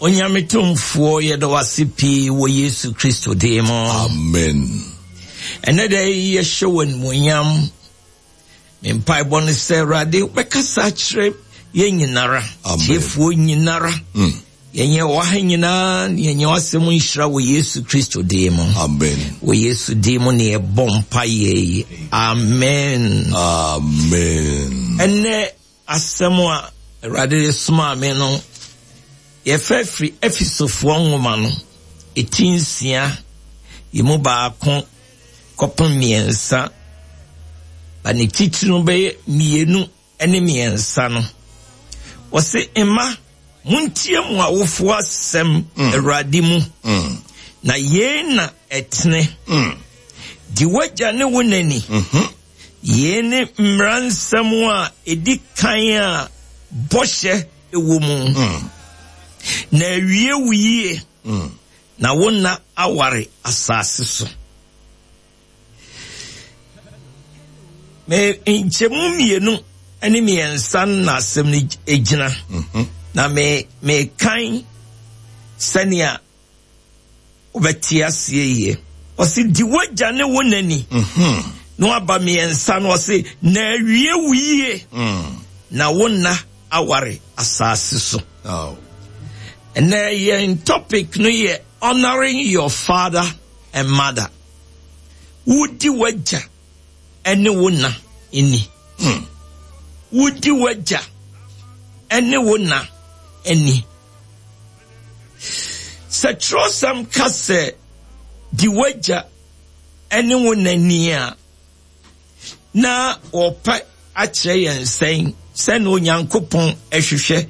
Onyame Tumfoɔ, yɛda wo ase pii wɔ Yesu Kristo din mu. Amen. Ɛnɛ da yi yɛhyɛ wo animuonyam. Me mpaebɔ ne sɛ Awurade wobɛkasa akyerɛ yɛn nyinara, tiefoɔ nyinara. Yɛnyɛ wɔ ha nyinaa ne yɛnyɛ w'asɛm nhyira wɔ Yesu Kristo din mu. Amen. Wɔ Yesu din mu ne yɛbɔ mpaeɛ yi. Amen. Amen. Ɛnɛ asɛm a Awurade de somaa me no, yɛfɛ firi Efesofoɔ nwoma no, eti nsia, yi mu baako kɔpem mmiɛnsa, ba ne titiri no bɛyɛ mmienu ne mmiɛnsa no. Wɔse, mma, montie mo awofoɔ asɛm Awurade mu, na yei na ɛtene. Di w'agya ne wo na ni. Yei ne mmara nsɛm a ɛdi kan a bɔhyɛ wɔ mu. Na awie wo yie, na wo nna aware asase so. Me nkyɛmu mmienu ne mmiɛnsa na asɛm no gyina. Na me mekan sɛnea wobɛte aseɛ yie. Ɔse di w'agya ne wo na ni. Na waba mmiɛnsa no ɔse na awie wo yie. Na wo nna aware asase so. Ɛnɛ yɛn topic no yɛ honoring your father and mother. Wodi w'agya ne wo na ni. Wodi w'agya ne wo na ni. Sɛ kyerɛwsɛm ka sɛ di w'agya ne wo na ni a, na wɔpɛ akyerɛ yɛn sɛn sɛ na Onyankopɔn hwehwɛ.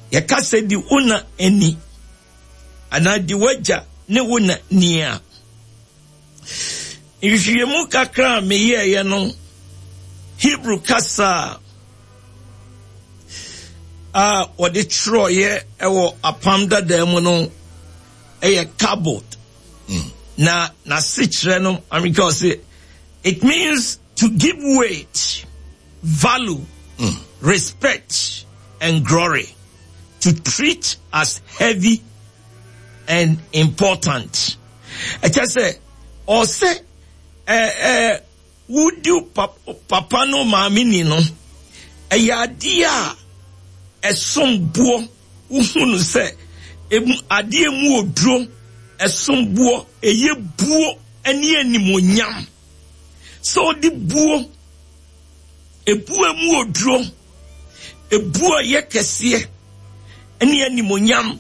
Yɛka sɛ di wo na ni anaa di w'agya ne wo na ni a, nhwehwɛmu kakra a meyɛeɛ no, Hebrew kasa a wɔde twerɛeɛ wɔ Apam Dadaa mu no yɛ kabod. Na n'asekyerɛ no, Amerika ɔse, it means to give weight, value, respect, and glory, to treat as heavy and important. Ɛkyɛ sɛ, ɔsɛ wodi papa no maame ni no, ɛyɛ adeɛ a ɛsom boɔ, wohu no sɛ adeɛ mu oduro, ɛsom boɔ, ɛyɛ buo ne animuonyam. Sɛ ɔde buo, ebuo mu oduro, ebuo a ɛyɛ kɛseɛ ne animuonyam,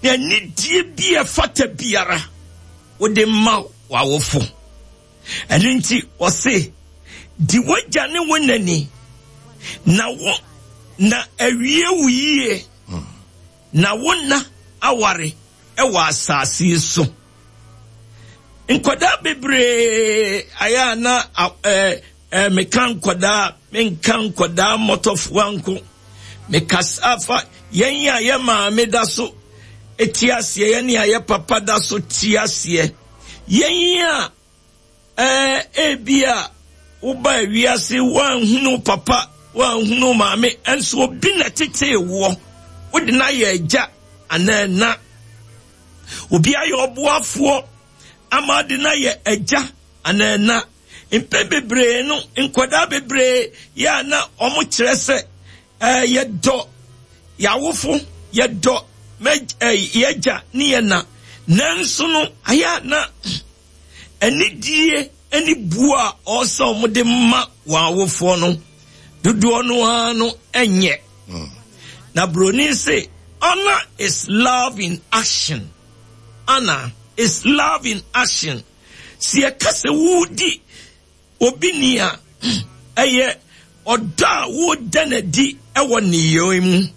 na anidie bi a ɛfata biara wode ma w'awofo. Ɛno nti ɔse, di w'agya ne wo na ni, na wo na awie wo yie, na wo nna aware wɔ asase yi so. Nkwadaa bebree ayɛ a na meka nkwadaa, menka nkwadaa mmɔtɔfoɔ nko. Mekasa fa yɛn a yɛ maame da so te aseɛ, yɛn a yɛ papa da so te aseɛ, yɛn a ebi a woba wiase woanhunu papa, woanhunu maame, nso obi na tetee woɔ, wode no ayɛ agya anaa na. Obi ayɛ ɔboafoɔ ama ade no ayɛ agya anaa na. Mpɛn bebree no, nkwadaa bebree yɛ a na wɔn kyerɛ sɛ yɛdɔ yɛawofo, yɛdɔ yɛagya ne yɛn na. Nanso no, ayɛ a na anidie ne buo a ɔsɛ wɔn de ma wɔn awofoɔ no, dodoɔ no ara no nyɛ. Na Broni se, honor is love in action. Honor is love in action. Sɛ yɛka sɛ wodi obi ni a, ɛyɛ ɔdɔ a woda n'adi wɔ nneyɛe mu.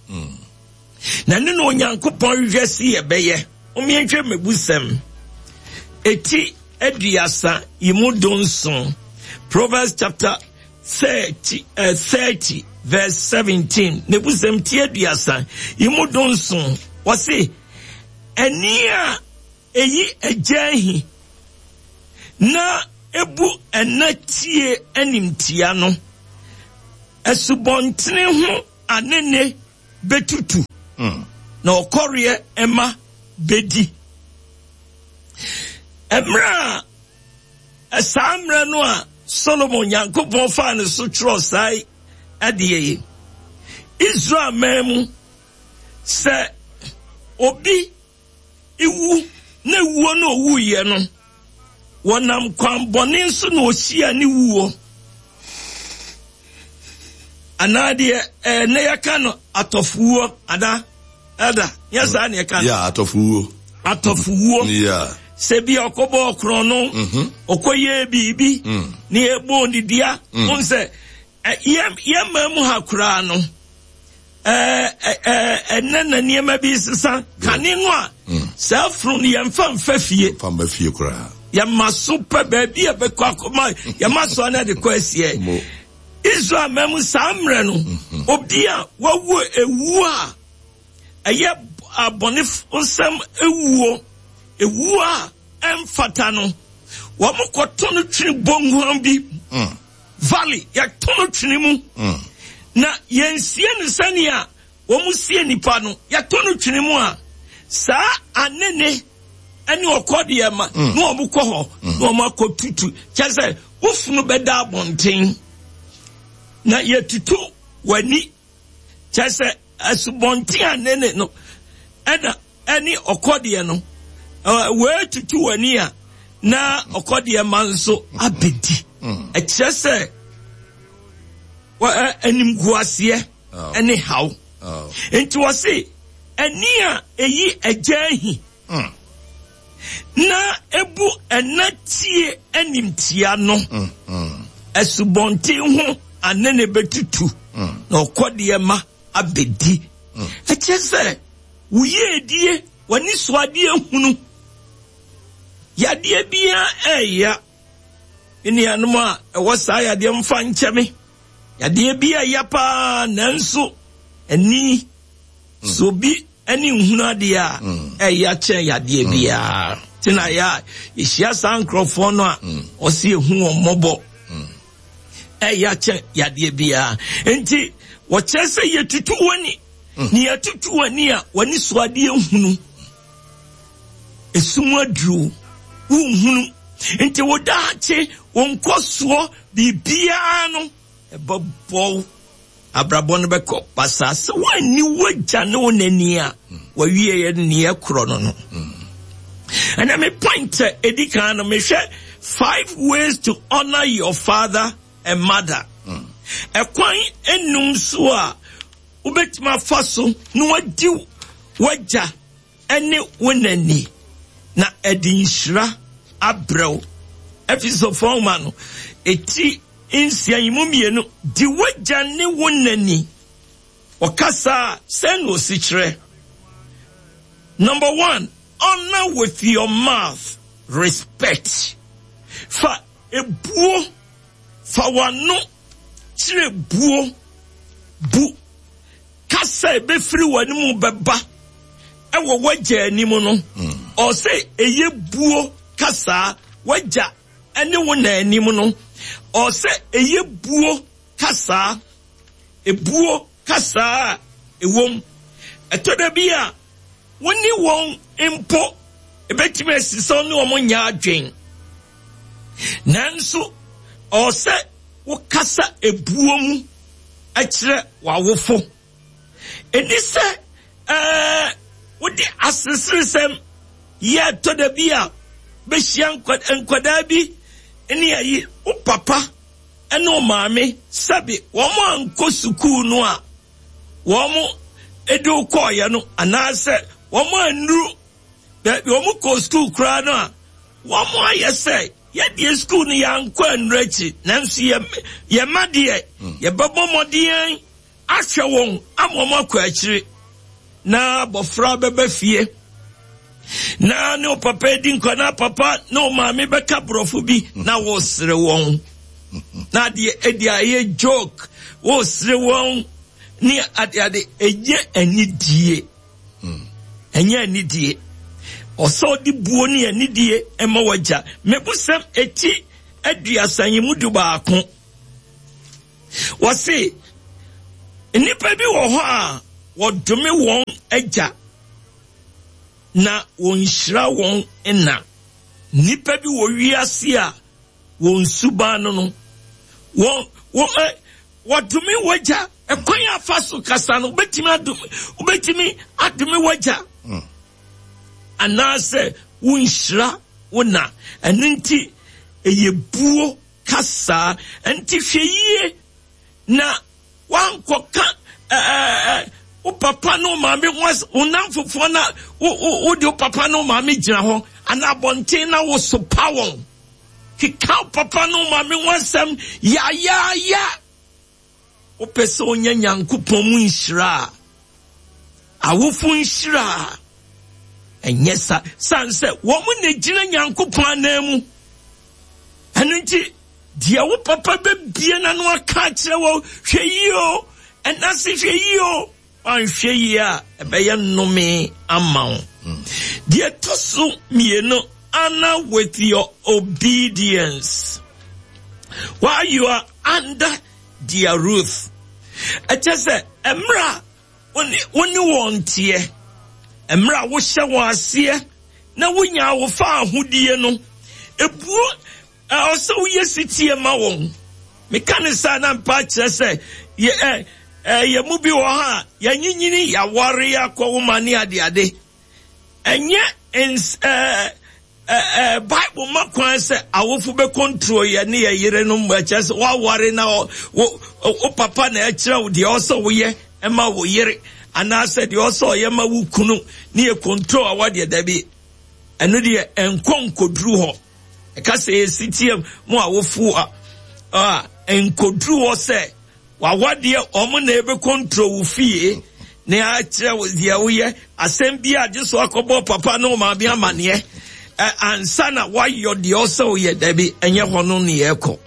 Na ɛno na Onyankopɔn hwehwɛ sɛ yɛbɛyɛ. Mommyɛnhwɛ mmebusɛm eti aduasa yi mu dunson. Proverbs chapter 30 verse 17. Mmebusɛm ti aduasa yi mu dunson. Wɔse, ɛne a eyi agya ahi na ebu ɛna tie animtia no, asubɔntene ho anene betutu. na ɔkɔreɛ mma bɛdi. Mmerɛ a saa mmerɛ no a Solomon Nyankopɔn faa ne so twerɛ saa adeɛ yi, Israel man mu sɛ obi wu na wuo no owuiɛ no, wɔnam kwan bɔne so na ɔhyia ne wuo. Anaa deɛ ɛɛ ne yɛka no atɔfowuo anaa ɛda nyɛ saa ne yɛka no. Yeah, atɔfowuo. Atɔfowuo. Yeah. Sɛ bi ɔkɔbɔ ɔkorɔn no, ɔkɔyɛ biribi, ne yɛbɔ ne dua, mm. sɛ yɛ mmaa mu ha koraa no, ɛnɛ na nneɛma bi sesa kane no a mm. saa funu no yɛmfa mfa fie mfa mfa fie koraa yɛma so pɛ baabi a bɛkɔ akɔma yɛma so ana de kɔ asiɛ Israel ma mu saa mmerɛ no mm-hmm. obi a wawu ewu a ɛyɛ abɔne nsɛm ewuo ewuo a ɛmfata no wɔn kɔto no twene bɔnguan bi mm. Valley, yɛto no twene mu, mm. na yɛnsie no sɛnea wɔn sie nipa no, yɛto no twene mu a, saa anene ne ɔkɔ deɛ ma mm. na wɔn kɔ hɔ mm. na wɔn akɔ tutu kyɛ sɛ wofunu bɛda abɔnten na yɛtutu w'ani Kyerɛ sɛ, asubɔnten a ne ne no ɛna ɛne ɔkɔdeɛ no wɔatutu w'ani a na ɔkɔdeɛ ma nso abɛdi. Mm. Ɛkyerɛ sɛ animguaseɛ oh. ɛne haw. Oh. Nti wɔse ani a ɛyi agya ahi mm. na ebu ɛna tie animtia no mm, asubɔnten ho ane ne bɛtutu mm. na ɔkɔdeɛ ma abɛdi. Ɛkyerɛ sɛ wo yiedie, w'ani so adeɛ hunu, yadeɛ biara ɛɛya. Me nuanom a ɛwɔ saa yadeɛ mfa nkyɛ me. Yadeɛ bi ɛya paa nanso ani so obi ne nhunu adeɛ a mm. ɛyɛ kyɛn yadeɛ mm. biara nti na yɛ a yɛhyia saa nkurɔfoɔ no a mm. ɔsi ehu wɔn mmɔbɔ ɛyɛ kyɛn yadeɛ biara nti wɔkyerɛ sɛ yɛtutu w'ani ne yɛtutu w'ani a w'ani so adeɛ hunu esum aduro wonhunu nti wo daakye wo nkɔsoɔ biribiara no ɛbɛbɔ Abrabɔ no bɛkɔ basaa sɛ woanni w'agya ne wo nani a wɔawieɛ neɛ korɔ no no. Ɛnna me point a ɛdi kan no mehwɛ five ways to honor your father and mother. Ɛkwan enum so a wobɛtumi afa so na wadi w'agya ne wo na ni, na ɛde nhyira abrɛ wo. Efesofo nhoma no, eti nsia yi mu mmienu, di w'agya ne wo na ni. Ɔkasa a, sɛn na osi kyerɛ? Number one, honor with your mouth, respect. Fa ebuo, fa w'ano kyerɛ buo, bu Kasa a ebefiri w'anom bɛba wɔ w'agya anim no, ɔsɛ ɛyɛ buo kasaa w'agya ne wo na anim no, ɔsɛ ɛyɛ buo kasaa, ebuo kasaa a ɛwom. Ɛtɔ da bi a, wo ne wɔn mpo ebetumi asi sɛ wo ne wɔn nyɛ adwen. Nanso, ɔsɛ wokasa ebuo mu kyerɛ w'awofo. Ɛni sɛ ɛɛ wode aseresɛm yɛ ɛtɔ da bi a bɛhyia nkwadaa bi ne ayi wo papa ne wo maame sɛbe wɔn ankɔ sukuu no a wɔn de wo kɔɔeɛ no anaasɛ wɔn annuru baabi wɔn kɔɔ sukuu koraa no a wɔn ayɛ sɛ Yɛdeɛ sukuu no yɛankɔ annuru akyi, nanso yɛ yɛn mma deɛ hmm. yɛbɛbɔ mmɔden ahwɛ wɔn ama wɔn akɔ akyiri. Na abɔfra bɛba fie na ne papa adi nkwa na papa ne wo maame bɛka borɔfo bi hmm. na wɔresere wɔn na adeɛ ɛde ayɛ joke wɔresere wɔn ne adeade ɛnyɛ anidie. Ɛnyɛ anidie. Ɔsɛ ɔde buo ne anidie ma w'agya. Mebusɛm eti aduasa yi mu du baako. Wɔse nnipa bi wɔ hɔ a wɔdome wɔn agya. na wɔnhyira wɔn na. Nnipa bi wɔ wiase a wɔn suban no no, wɔn wɔn ɛ wɔdome wagya. Ɛkwan a fa so kasa no, wobɛtumi adome wobɛtumi adome wagya anaasɛ wonhyira wo na. Ɛno nti ɛyɛ buo kasa. Ɛnti hwɛ yie na Woankɔka ɛɛ wo papa ne wo maame ho asɛm, wo nnamfofoɔ na wo wo wode wo papa ne wo maame gyina hɔ anaa abɔnten na wosopa wɔn. Keka wo papa ne wo maame ho asɛm yayaaya. Wopɛ sɛ wonya Nyankopɔn mu nhyira a, awofo nhyira a, ɛnyɛ sa sane sɛ wɔn na gyina Nyankopɔn anan mu. Ɛno nti, deɛ wo papa bɛbie n'ano aka akyerɛ wɔ hwɛ yie o, ɛna se hwɛ yie o, wanhwɛ yie a ɛbɛyɛ nnome ama wo. Deɛ ɛtɔ so mmienu, honor with your obedience while you are under their roof. Ɛkyɛ sɛ mmerɛ a wo ne wɔn teɛ, mmerɛ a wohyɛ wɔn aseɛ na wonya wo fa ahodie no, ebuo ɛwɔ sɛ woyɛ sitie ma wɔn. Meka ne saa na mpa kyerɛ sɛ yɛ ɛ ɛ yɛ mu bi wɔ hɔ a yɛnyinyini yɛaware akɔ wo ma ne adeade. Ɛnyɛ ns ɛɛ ɛɛ Bible ma kwan sɛ awofo bɛ control yɛ ne yɛ yerenom, ɛkyerɛ sɛ woaware na wo wo papa na ɛkyerɛ wo deɛ ɔsɛ woyɛ ɛma wo yere anaasɛ deɛ ɔsɛ ɔyɛ ma wo kunu ne yɛ control a wadeɛ dabi, ɛno deɛ ɛnkɔ nkɔduru hɔ. Ɛka sɛ yɛsi teɛ mu awofo a a nkɔduru hɔ sɛ W'awadeɛ wɔn na ɛbɛ control wo fie na akyerɛ wo deɛ woyɛ asɛm bi a gye so akɔbɔ papa ne maame amaneɛ ansa na woayɔ deɛ ɔsɛ woyɛ. Dabi, ɛnyɛ hɔ no ne yɛkɔ,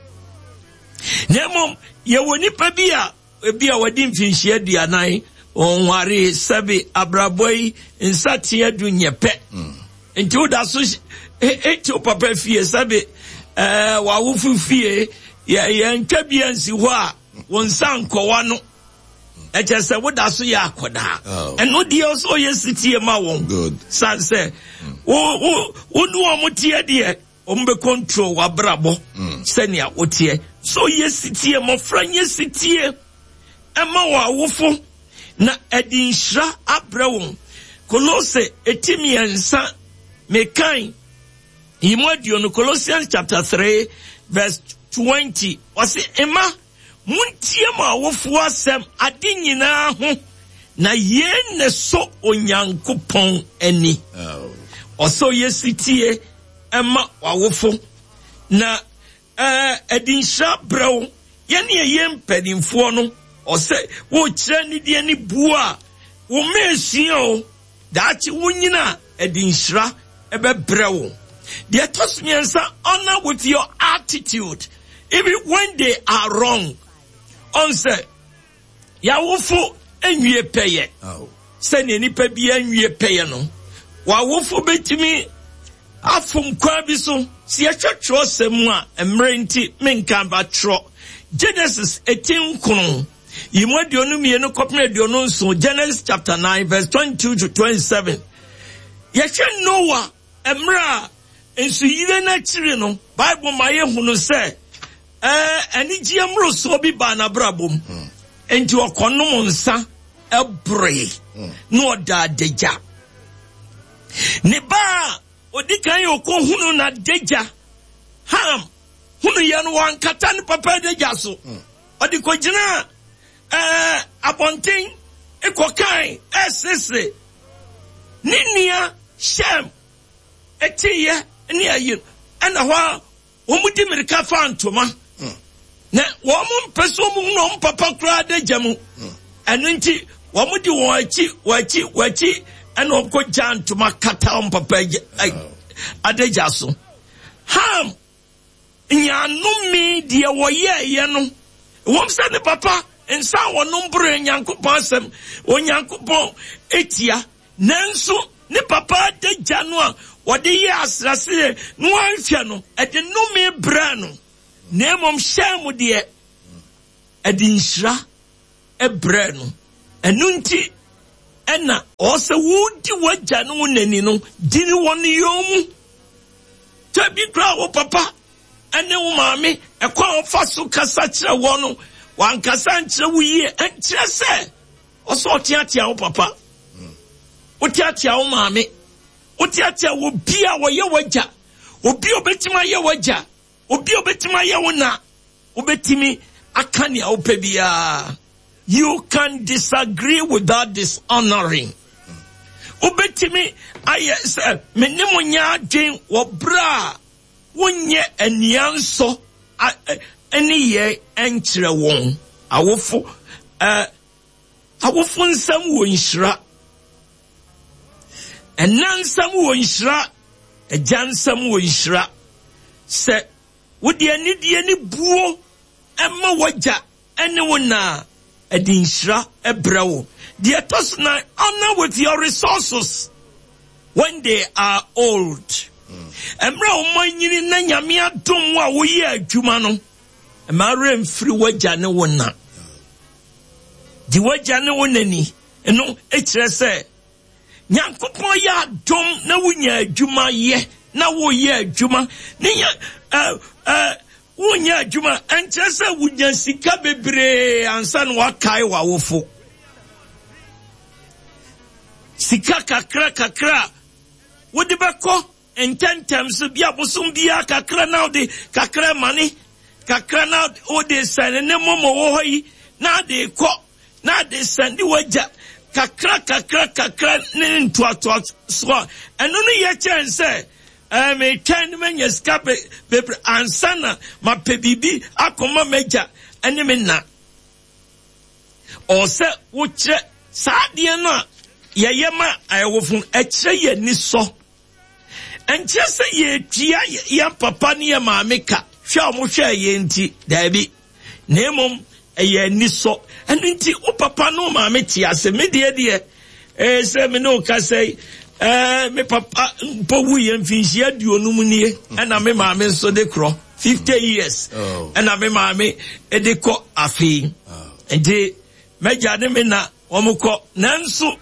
na mmom yɛwɔ nipa bi a ebi a wɔde mfinhyia 40 wɔnware, sɛbe abrabɔ yi nsateɛ du nyɛ pɛ, nti woda so eti wo papa fie, sɛbe ɛɛ w'awofo fie, yɛ yɛntwa bi ansi hɔ a wo nsa nkɔwa no, ɛkyɛ sɛ woda so yɛ akɔdaa. Ɛno deɛ ɔsɛ ɔyɛ sitie ma wɔn, san sɛ wo wo wo ne wɔn teɛ deɛ wɔn bɛ control w'abrabɔ sɛnea woteɛ. So yɛ sitie, mmɔfra nyɛ sitie ɛma wɔn awofo na ɛde nhyira abrɛ wɔn. Kolose eti 3 mekan yi mu 20, Colossians chapter 3 verse 20, ɔse mma muntie mo awofoɔ asɛm ade nyinaa ho, na yei ne so Onyankopɔn ani. Ɔsɛ ɔyɛ sitie ɛma w'awofo na ɛde nhyira brɛ wo. Yɛne ɛyɛ mpanimfoɔ no, ɔsɛ wokyerɛ nidie ne buo a wo mma esua o, daakye wonyina a ɛde nhyira ɛbɛbrɛ wo. Deɛ ɛtɔ so 3, honor with your attitude even when they are wrong. Ɔn sɛ yɛawofo nwie pɛyɛ sɛnea nipa biara nwie pɛyɛ no, w'awofo bɛtumi afom kwan bi so. Sɛ yɛhwɛ twerɛsɛm mu a, mmerɛ nti menka ba twerɛ Genesis eti 9 yi mu 22 kɔpem 27, Genesis chapter 9 verse 22 to 27. Yɛhwɛ Noah mmerɛ a nsuyire no akyiri no, Bible ma yɛhunu sɛ anigyeɛ mmorosoɔ bi baa n'abrabɔ mu. Nti ɔkɔnom nsa ɛboroe na ɔda adagya. Ne ba a odi kan yɛ ɔkɔhunu n'adagya, Ham, hunu yɛ no, wankata ne papa adagya so. Ɔde kɔgyinaa abɔnten kɔkae ɛresesere ne nua Shem ɛteeɛ ne ayi, ɛna hɔ a wɔn di mirika fa ntoma na wɔn mpɛ sɛ wɔn hunu wɔn papa koraa adagya mu. Ɛno nti wɔn de wɔn akyi wɔn akyi wɔn akyi ɛna wɔn kɔ gya ntoma kata wɔn papa adagya so. Ham nyaanome deɛ wɔyɛɛyɛ no, wɔn sɛ ne papa nsa wɔnom bere Nyankopɔn asɛm Onyankopɔn etia, nanso ne papa adagya no a wɔde yɛ asrasere na wɔanhwɛ no, ɛde nnome brɛ no, na mmom hyɛn mu deɛ ɛde nhyira brɛ no. Ɛno nti. Ɛna ɔwɔ sɛ wodi w'agya ne wo nani no, di ne wɔ ne yɔn mu. Sɛ bi koraa wo papa ne wo maame, ɛkwan a wɔfa so kasa kyerɛ wɔn no, wankasa nkyerɛ wo yie, ɛnkyerɛ sɛ ɔsɛ ɔteatea wo papa, woteatea wo maame, woteatea obi a wɔyɛ w'agya, obi a obetumi ayɛ w'agya, obi a obetumi ayɛ wo na, wobetumi aka nea wopɛ biara. You can disagree without dishonoring. Wobetumi ayɛ sɛ me ne mo nyɛ adwen wɔ bere a wonyɛ ania nsɔ ne yɛ nkyerɛ wɔn. Awofo eh, awofo nsɛm wɔ nhyira. Ɛna nsɛm wɔ nhyira, agya nsɛm wɔ nhyira. Sɛ wode anidie ne buo ma w'agya ne wo na a, ɛde nhyira brɛ wo. Deɛ ɛtɔ so nan, honor with your resources when they are old. Mmerɛ a wɔn anyini na Nyame adom wo a woyɛ adwuma no, mma werɛ mfiri w'agya ne wo na. Di w'agya ne wo na ni. Ɛno kyerɛ sɛ Nyankopɔn yɛ adom na wonya adwuma yɛ na woyɛ adwuma ne yɛ ɛ ɛ wonyɛ adwuma ɛnkyerɛ sɛ wonya sika bebree ansa na wakae w'awofo. Sika kakra kakra a wode bɛkɔ ntɛmntɛm so bi a bosom biara kakra na wode kakra mane kakra na wode sɛne ne mɔmɔ wɔ hɔ yi na ade kɔ na ade sɛne wagya kakra kakra kakra ne ntoatoa so a ɛno no yɛ kyɛn sɛ ɛɛ metwɛn ne manya sika bebree ansa na mapɛ biribi akɔma m'agya ne me na. Ɔwɔ sɛ wokyerɛ saa adeɛ no a yɛyɛ ma ayɛwofo no, ɛkyerɛ yɛn ani sɔ. Ɛnkyerɛ sɛ yɛtua yɛn papa ne yɛn maame ka hwɛ a wɔhwɛɛ yɛn nti, daabi. Na mmom ɛyɛ anisɔ. Ɛno nti wo papa ne wo maame te ase. Me deɛ deɛ, ɛɛ sɛ me ne wo kasa yi, ɛɛ me papa mpo wuiɛ mfinhyia aduonum nie, ɛna me maame nso de korɔ. 50 years oh. ɛna me maame de kɔ afei. Oh. Nti m'agya ne me na wɔn kɔ nanso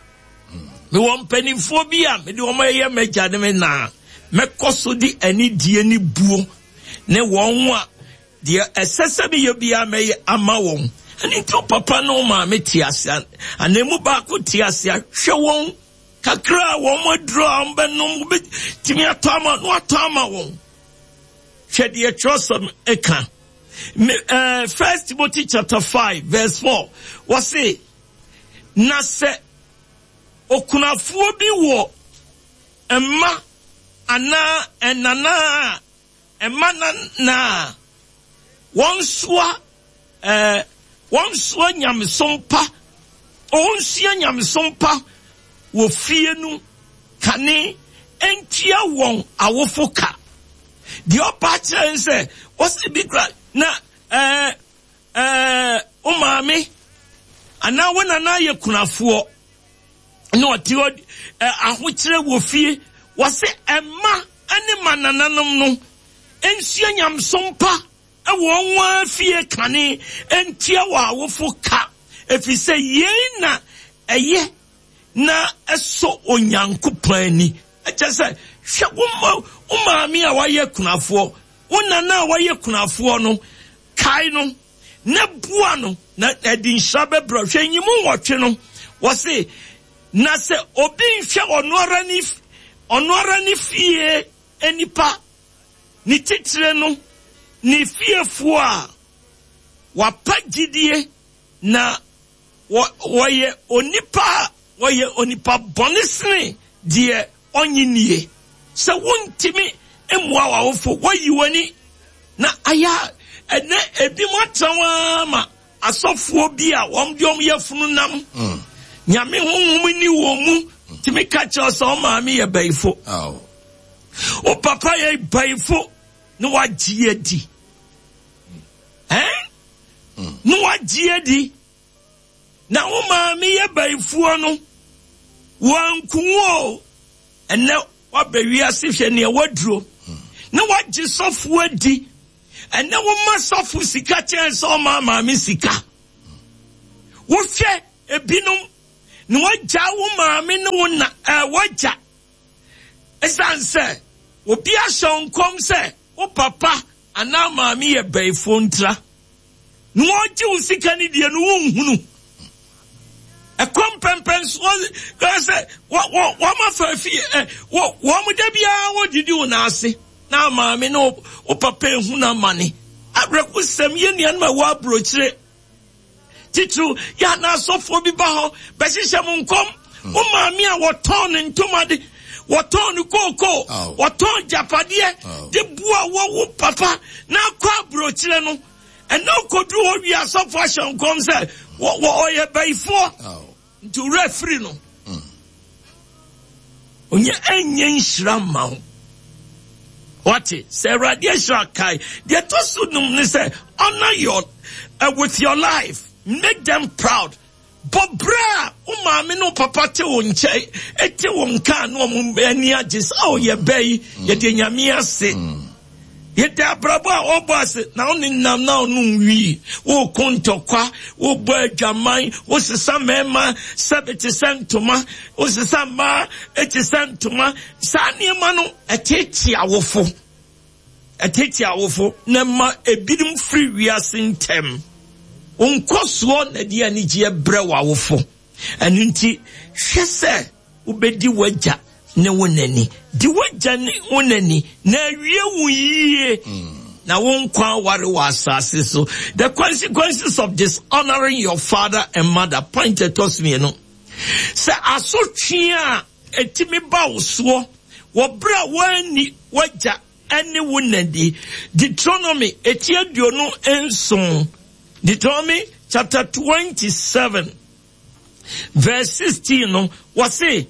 mewɔ mpanimfoɔ bi a mede wɔn ayɛ m'agya ne me na mɛkɔ so de anidie ne buo ne wɔn a deɛ ɛsɛ sɛ meyɛ biara mɛyɛ ama wɔn. Ɛno nti wo papa ne wo maame te ase anaa emu baako te ase a, hwɛ wɔn kakra a wɔn aduro a wɔbɛnom wobɛtumi atɔ ama na watɔ ama wɔn. Hwɛ deɛ twerɛsɛm ɛka. Eh, First Timothy chapter 5 verse 4 wɔse na sɛ okunafoɔ bi wɔ mma anaa ɛnana a Mma na na wɔnsoa ɛɛ wɔnsoa nyamesom pa, wɔnsua nyamesom pa wɔ fie no kane ntua wɔn awofo ka. Deɛ ɔpa akyerɛ ne sɛ, wɔsɛ bi kura na ɛɛ ɛɛ wo maame anaa wo nana yɛ kunafoɔ na ɔte hɔ ahokyerɛ wɔ fie, wɔsɛ ɛma ne ma nananom no nsua nyamesom pa wɔ wɔn ara fie kane ntua wɔn awofo ka, ɛfiri sɛ yei na ɛyɛ na ɛsɔ Onyankopɔn ani. Ɛkyɛ sɛ, hwɛ wo ma, wo maame a wayɛ kunafoɔ, wo nana a wayɛ kunafoɔ no, kae no na boa no na ɛde nhyira bɛbrɛ. Hwɛ nyimu nwɔtwe no, wɔse Na sɛ obi nhwɛ ɔno ara ne ɔno ara ne fie nnipa, ne titire no ne fiefoɔ a, wapa gyidie na wɔ wɔyɛ onipa a wɔyɛ onipa bɔne sene deɛ ɔnnye nnie. Sɛ wontumi mmoa w'awofo, woayi w'ani na ayɛ a, ɛnɛ ebinom atena hɔ ara ma Asɔfoɔ bi a wɔn de wɔn yafunu nam mm. Nyame honhom nni wɔn mu tumi ka kyerɛ sɛ wɔn maame yɛ bayifo. Wo papa yɛ bayifo na wagye adi. Ɛn? Mm. Na wagye adi. Na wo maame yɛ bayifoɔ no, wɔanku wo o. Ɛnɛ waba wiase hwɛ nea waduro. Mm. Na wagye sɔfoɔ adi. Ɛnɛ woma sɔfo sika kyɛn sɛ ɔma maame sika. Wohwɛ ebinom Na wagya wo maame ne wo na ɛɛ wagya. Ɛsiane sɛ obi ahyɛ wo nkɔm sɛ wo papa anaa maame yɛ bayifoɔ ntira. Na wɔgye wo sika no deɛ no wonhunu. Ɛkɔ mpɛmpɛnsoɔ kora sɛ wɔn afa fie ɛ wɔn da biara wɔdidi wo nan ase na maame ne wo papa ehunu amane. Awerɛhosɛm yɛ nuanom a ɛwɔ aburokyire. Titiriw, yɛ a na asɔfoɔ bi ba hɔ bɛhyehyɛ mo nkɔm. Hmm. Wo maame a wɔtɔn ne ntoma de, wɔtɔn ne kookoo, wɔtɔn gyapadeɛ de boa wɔ wo papa na akɔ aburokyerɛ no. Ɛnna ɔkɔduru hɔ wie asɔfoɔ ahyɛ nkɔm sɛ ɔyɛ bayifoɔ. Nti wura firi no. Hmm. Onye ɛnyɛ nhyira mma wo. Wate sɛ Awurade ahyira kae. Deɛ ɛtɔ so num ne sɛ honor your with your life. Make them proud. Bɔ berɛ a wo maame ne wo papa te wo nkyɛn, te wo nka na wɔn ani agye sɛ oh yɛ bɛ yi, hmm. yɛde nyame ase. Mm. Yɛda abrabɔ a ɔbɔ ase na wo nenam na ɔnom wii, woko ntɔkwa, wobɔ adwaman, wosesa mmarima sɛbe te sɛ ntoma, wosesa mmaa te sɛ ntoma. Saa nneɛma no ɛteetee awofo. Ɛteetee awofo na ɛma ebinom firi wiase ntɛm. Wo nkɔsoɔ na ɛde anigyeɛ brɛ w'awofo. Ɛno nti, hwɛ sɛ Wobɛdi w'agya ne wo na ni. Di w'agya ne wo na ni, na awie wo yie, na wo nkwa aware wɔ asase so. The consequences of dishonoring your father and mother. Point ɛtɔ so mmienu. Sɛ asotwe a ɛtumi ba wo soɔ wɔ berɛ a woanni w'agya ne wo na ni. Deuteronomy eti 27. Deuteronomy chapter 27. Verse 16 no, wɔse,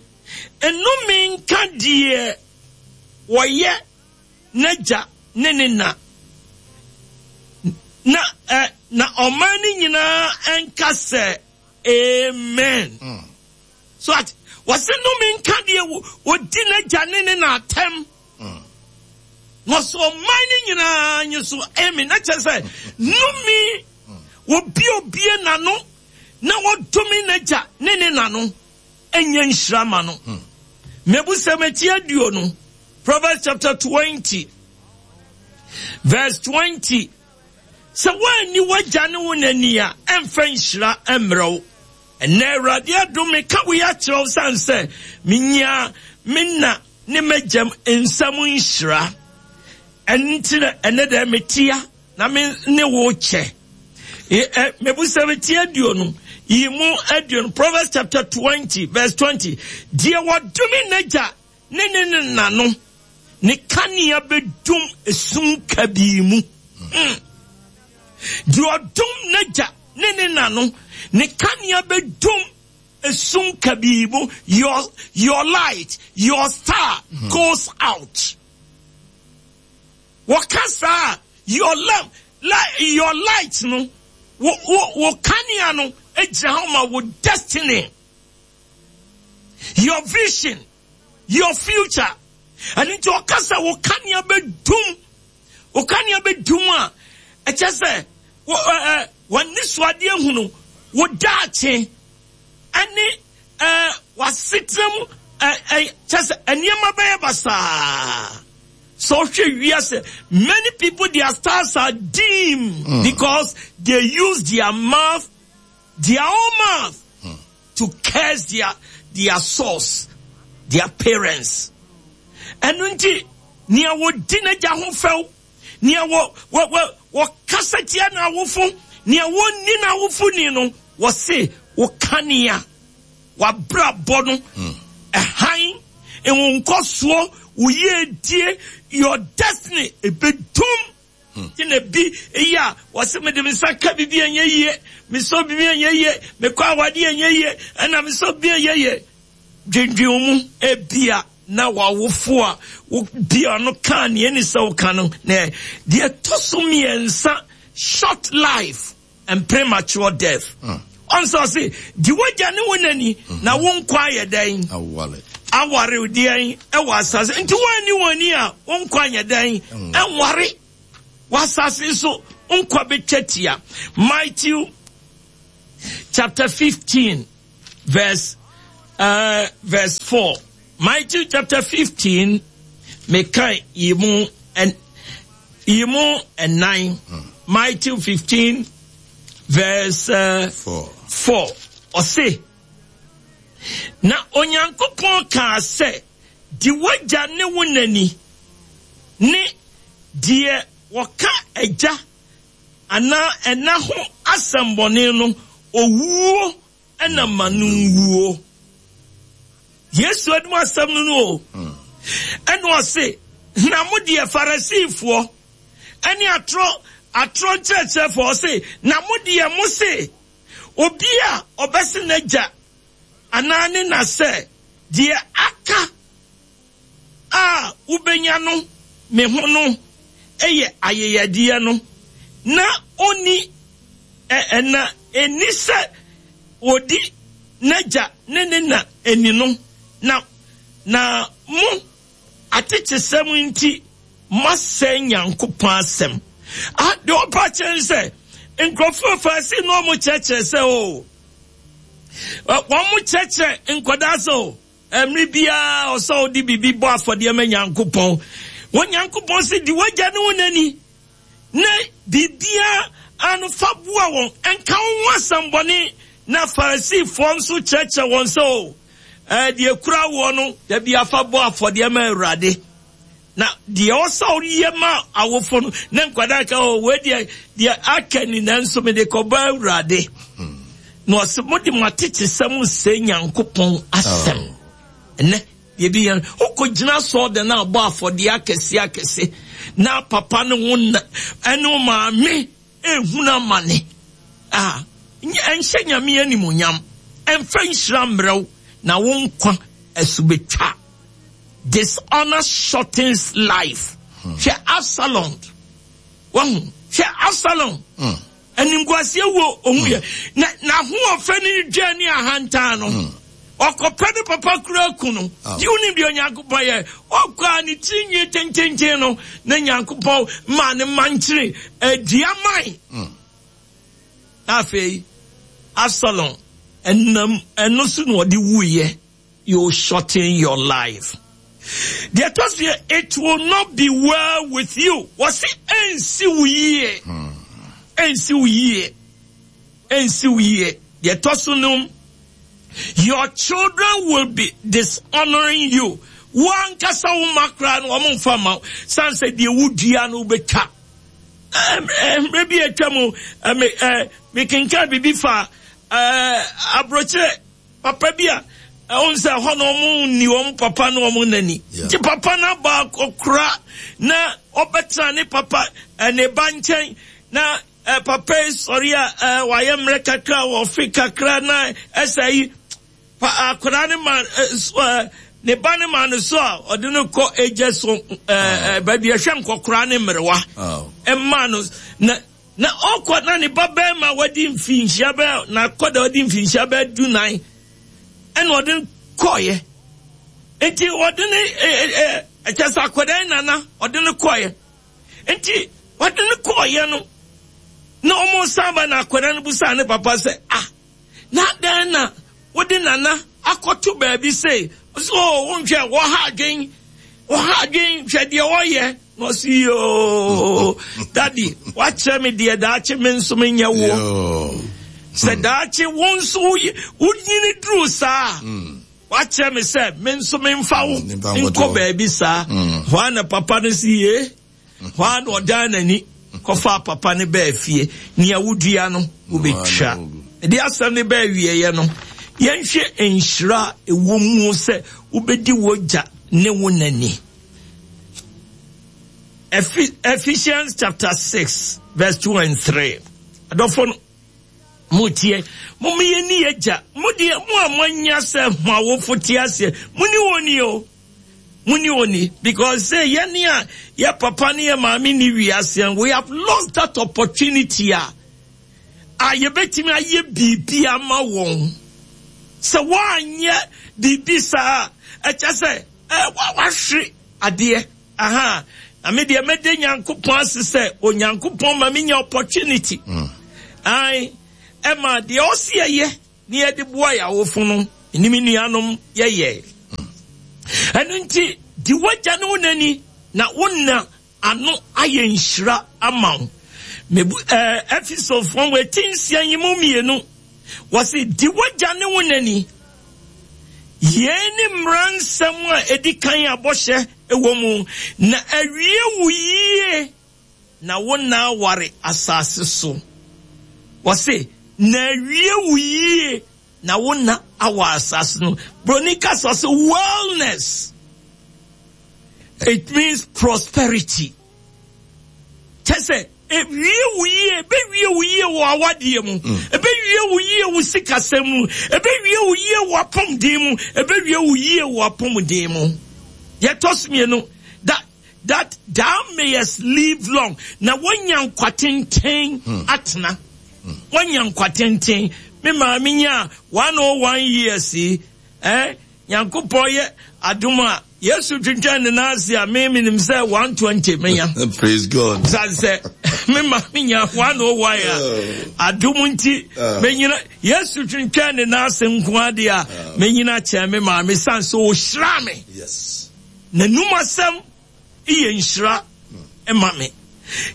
Nnome nka deɛ wɔyɛ n'agya ne ne na, na, eh, na ɔman no nyinaa nka sɛ, Amen. Mm. So at, wɔse nnome nka deɛ wɔdi n'agya ne ne na atɛm. Mm. Na ɔsɛ ɔman no nyinaa nye so amen. Na kyerɛ sɛ, nnome, wɔbi obie n'ano na ɔdome n'agya ne ne na no nyɛ nhyira ma no. Hmm. Mmebusɛm eti 20, Proverbs chapter 20 verse 20. Sɛ woanni w'agya ne wo na ni a, ɛmfa nhyira mmerɛ wo. Ɛnɛ Awurade adom meka wei akyerɛ wo sane sɛ menyaa me na ne m'agyam nsam nhyira. Ɛno nti na ɛnɛ dɛ metea na me ne wo kyɛ. Mebusɛm ti 20, yi mu 20, Proverbs chapter 20 verse 20. Deɛ wɔdome n'agya ne ne ne na no, ne kanea bɛdum esum kabii mu. Hmm. Deɛ ɔdom n'agya ne ne na no, ne kanea bɛdum esum kabii mu. Your light, your star goes out. Wɔka saa a, your lamp, your light no, wo, wo, wo kanea no gyina hɔ ma wo destiny, your vision, your future. Ɛno nti ɔka sɛ wo kanea bɛdum, wo kanea bɛdum a, ɛkyɛ sɛ wɔne soadeɛ hunu wo daakye ɛne w'asetena mu kyɛ sɛ nneɛma bɛyɛ basaa. Sɛ wohwɛ wiase, many people their stars are dim mm. because they use their mouth, their own mouth, mm. to curse their their source, their parents. Ɛno nti, nea wɔdi n'agya ho fɛw, nea wɔ wɔ wɔ wɔkasa tia n'awofo, nea wɔnni n'awofo ni no, wɔse wɔkanea. W'abrabɔ no, ɛhan, wo nkɔsoɔ, wo yiedie, your destiny, ɛbɛdum. Nti na bi yɛ a wɔse mede me nsa ka biribi ɛnyɛ yie, mesɔ biribi ɛnyɛ yie, mekɔ awadeɛ ɛnyɛ yie, ɛna mesɔ biribi ɛnyɛ yie. Dwendwen wo mu, ebia na w'awofo a wobia no kaa nea ɛni sɛ woka no na deɛ ɛtɔ so mmiɛnsa, short life. and premature death. Ɔn sɛ ɔse, di w'agya ne wo na ni, na wo nkwa ayɛ dɛn? Aware. Aware deɛn ɛwɔ asase. Nti woanni wɔn ni a, wo nkwa nyɛ dɛn? Ɛnware. Wɔ asase so, nkwa bɛtwa tia. Matthew chapter 15 verse. verse 4. Matthew chapter 15, mekan yi mu yi mu ɛnan. Matthew 15 verse 4. Ɔse, na Onyankopɔn kaa sɛ, di w'agya ne wo na ni, ne deɛ wɔka agya anaa ɛna ho asɛmmɔne no, owuo na ma no nwuo. Yesu anim asɛm no no o. Ɛna ɔse, na mo deɛ Farisifoɔ ɛne atorɔ atorɔ nkyerɛkyerɛfoɔ, ɔse, na mo deɛ mo se, obi a ɔbɛse n'agya anaa ne na sɛ, deɛ aka a wobenya no me ho no yɛ ayɛyɛdeɛ no, na ɔnni ɛ, na ɛnni sɛ ɔdi n'agya ne ne na ni no, na, na mo atekyesɛm nti moasɛe Nyankopɔn asɛm. Ah, deɛ ɔpa kyerɛ ne sɛ, nkurɔfoɔ Farisi no wɔn kyerɛkyerɛ sɛ o, wɔn kyerɛkyerɛ nkwadaa sɛ o, Mmere biara ɔsɛ wode biribi bɔ afɔdeɛ ma Nyankopɔn. Wɔ Nyankopɔn se di w'agya ne wo na ni, na biribiara ano fa boa wɔn, nka wo ho asɛmbɔne. Na Farisifoɔ nso kyerɛkyerɛ wɔn sɛ, o, ɛɛ, deɛ kura woɔ no, da bi afa bɔ afɔdeɛ ma Awurade. Na deɛ ɔsɛ woyɛ ma awofo no, na nkwadaa ka, o, wei deɛ, deɛ aka ni, nanso mede kɔbɔ Awurade. Na ɔsɛ mode mo atetesɛm sɛ Nyankopɔn asɛm. Oh. Ɛnɛ, deɛ bi yɛn, wokɔgyina asɔɔdan na abɔ afɔdeɛ akɛse akɛse, na papa ne wo na, ɛne wo maame ehunu amane. Ah, ɛnhyɛ Nyame animuonyam, ɛmfa nhyira mmerɛw, na wo nkwa ɛso betwa. Dishonor shortens life. Hmm. Hwɛ Absalom. Wahu. Hwɛ Absalom. Hmm. Animguaseɛ wuo ohu yɛ. Hmm. Na n'ahoɔfɛ ne ne dwa ne ahantan no. Hmm. Ɔkɔpɛ ne papa kura ku no. Oh. Di wonim deɛ Onyankopɔn yɛ. Ɔkɔ a ne tiri nwi tententen no na Nyankopɔn maa ne mankyere adua man. Hmm. Afei Absalom ɛnam ɛno so na ɔde wuyɛ. You shorten your life. Deɛ ɛtɔ so yɛ, it will not be well with you. Wɔsi ɛnsi wo yie. Ɛnsi wo yie. Ɛnsi wo yie. Deɛ ɛtɔ so nom, your children will be dishonoring you. Wo ankasa wo mma koraa no wɔn mfa mma wo. San sɛ deɛ wodua no wobɛtwa. Mmerɛ bi atwa mu, mekenkan biribi fa aburokyerɛ. Papa bi a ɛwɔ sɛ ɛhɔ na wɔn nni wɔn papa ne wɔn nani. Nti papa no abɔ akɔkora na ɔbɛtena ne papa ne ba nkyɛn na papa yi sɔre a wayɛ mmerɛ kakra wɔfe kakra na ɛsɛ yi akwadaa no ma ne ba no ma no so a ɔde no kɔ agya so baabi ɛhwɛ nkɔkora ne mmerewa ɛma no na Na ɔkɔ na ne ba bɛrima a wadi mfinhyia bɛɛ na akɔda wadi mfinhyia bɛɛ dunan ɛna ɔde no kɔɔyɛ nti ɔde ne ɛ ɛ ɛkyɛ sɛ akɔda yi nana ɔde no kɔɔyɛ nti ɔde no kɔɔyɛ no na wɔn san ba na akɔda no busa ne papa sɛ ah na dɛn na wode nana akɔto baabi sei ɔsɛ o wonhwɛ wɔha adwen wɔha adwen hwɛ deɛ ɔyɛ Na ɔsi yoo dadi wakyerɛ me deɛ daakye me nso menyɛ woɔ sɛ hmm. daakye wo nso wonyini duru saa hmm. wakyerɛ me sɛ me nso memfa wo hmm, nkɔ baabi saa hɔ a na papa no si yie hɔ a na ɔdan n'ani kɔfa papa no bɛɛ fie nea wodua no wobɛtwa ɛde asɛm no bɛɛ wieɛ no yɛnhwɛ nhyira ɛwɔ mu sɛ wobɛdi w'agya ne wo nani Ephesians chapter 6 verse 2 and 3. Adɔfo no, motie, mommeyɛ ni agya, mo deɛ mo a moanya sɛ mo awofo te aseɛ, mo ni wɔn ni o. Mo ni wɔn ni because sɛ yɛne a yɛ papa ne yɛ maame ni wiase, we have lost that opportunity a a yɛbɛtumi ayɛ biribi ama wɔn. Sɛ wɔanyɛ biribi saa a, ɛkyɛ sɛ Eh, wahwere adeɛ. Aha. Na me deɛ mɛde Nyankopɔn ase sɛ Onyankopɔn ma menya opportunity. Mm. Ae, ɛma deɛ ɔsi ɛyɛ ne yɛde boa yɛ awofo no. Ne me nuanom yɛyɛ. Ɛno nti, di w'agya ne wo nani na wo nna ano ayɛ nhyira ama wo. Mebu ɛɛ Efesofoɔ wɔ eti nsia yi mu mmienu. Wɔsi di w'agya ne wo nani. Yei ne mmara nsɛm a edi kan a bɔhyɛ wɔ mu na awie wo yie na wo nna aware asase so. Wɔse na awie wo yie na wo nna awɔ asase no. Broni kasa sɛ wellness. It means prosperity. Kyɛ sɛ ewie wo yie, ebewie wo yie wɔ awadeɛ mu, ebewie wo yie wɔ sikasɛm mu, ebewie wo yie wɔ apɔmuden mu, ebewie wo yie wɔ apɔmuden mu. Yɛtɔ so mmienu, that that thou mayest live long, na woanya nkwa tenten atena. Woanya nkwa tenten. Me maame nyaa 101 years yi, eh, Nyankopɔn yɛ adom a, Yesu twentwɛn ne nan ase a, me menim sɛ 120 menya. Praise God. Sane sɛ me ma menya 101 a, adom nti menyina Yesu twentwɛn ne nan ase nko ade a, menyina kyɛn me maame sane sɛ ɔhyira me. Yes. N'anum asɛm yɛ nhyira ma me.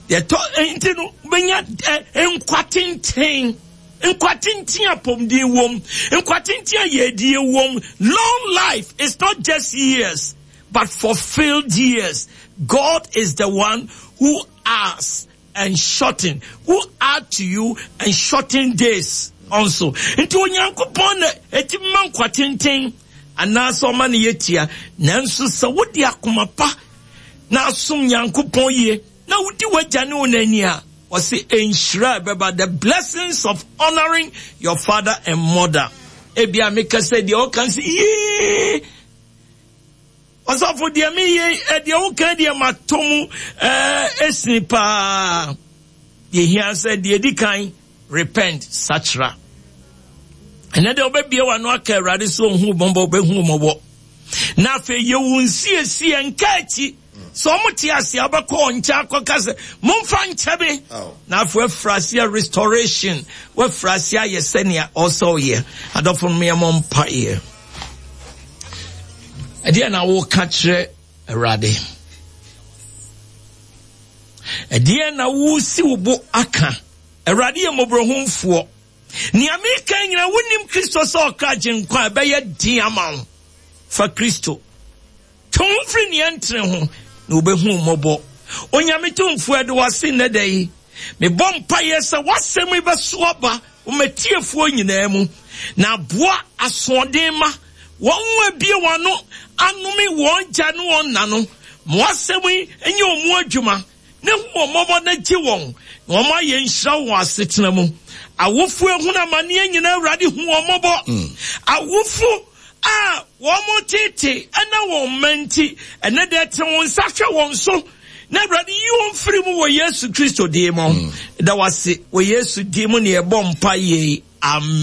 Yɛtɔ nti no bɛnya nkwa tenten, nkwa tenten apɔmuden wom, nkwa tenten a yɛdie wom. Long life is not just years, but fulfilled years. God is the one who asks and shorten, who add to you and shorten days also. Nti Onyankopɔn na ɛtumi ma nkwa tenten anaasɛ ɔma no yɛ tia. Nanso sɛ wode akoma pa na asom Nyankopɔn yie na wodi w'agya ne wo na ani a, ɔse nhyira a ɛbɛba, the blessings of honoring your father and mother. Ebia meka sɛ deɛ ɔka sɛ yee ɔsɔfo deɛ meyɛ deɛ woka deɛ matɔ mu ɛsini paa. Deɛ hia sɛ deɛ di kan repent, sakyera. Ɛnɛ deɛ wobɛbie w'ano aka Awurade sɛ ɔhu mmɔbɔ, wobɛhu mmɔbɔ. Na afei yɛ wo nsiesie nka akyi. Sɛ ɔmo te ase a wobɛkɔ wɔn nkyɛn akɔka sɛ momfa nkyɛ me. Na afei wafiri aseɛ restoration, wafiri aseɛ ayɛ sɛnea ɔsɛ ɔyɛ. Adɔfo no yɛmmɔ mpaeɛ. Ɛdeɛ na woka kyerɛ Awurade? Ɛdeɛ na wosi wo bo aka? Awurade yɛ mmɔborɔhunfoɔ. Nea meka nyina wonim Kristo sɛ ɔkra gyenkwa a ɛbɛyɛ den ama wo. Fa Kristo. Twe wo ho firi nea ɛntene ho na wobɛhu wo mmɔbɔ. Onyame Tumfoɔ ɛde wase nnɛ da yi. Mebɔ mpaeɛ sɛ w'asɛm yi bɛso aba wɔ m'atiefoɔ nyinaa mu na aboa asoɔden ma wɔn a abie wɔn ano anome wɔn gya ne wɔn nna no. Ma w'asɛm yi nyɛ wɔn mu adwuma na hu wɔn mmɔbɔ na gye wɔn na wɔn ayɛ nhyira wɔ asetena mu. Awofo ehunu amaneɛ nyinaa Awurade hu wɔn mmɔbɔ. Awofo a wɔn tete ɛna wɔn mma nti ɛnɛ deɛ te wɔn nsa hwɛ wɔn so na Awurade yi wɔn firi mu wɔ Yesu Kristo din mu. Da wase wɔ Yesu din mu na yɛbɔ mpa yei. Amen.